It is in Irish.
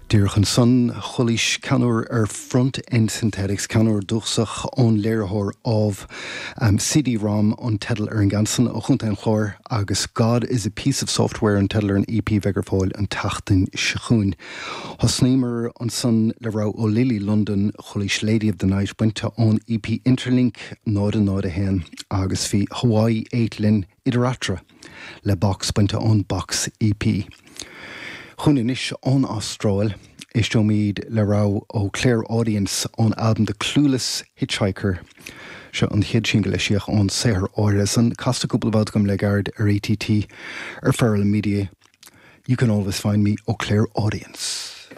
Díreach ansan, chualaís ceann úr ar Front End Synthetics, ceann úr dúchasach ón léiritheoir Ádhamh. CD Rom an teideal ar an gceann san ó Chontae an Chláir agus God is a Piece of Software an teideal ar an EP a bheidh ar fáil an tseachtain seo chugainn. Thosnaíomar ansan le rogha ó Lily London, chualaís Lady of the Night bainte ón EP Interlink 0 0 1 agus bhí Hawaii 8 linn idir eatarthu le Box bainte ón Box EP. Chugainn anois ón Astráil, éisteoimid le rogha ó Claire Audience ón albam The Clueless Hitchhiker. Seo an chéad singil a eisíodh ón saothar áirithe san, casta cúpla babhta agam le gairid ar ATT ar Feral Media. You Can Always Find Me ó Claire Audience.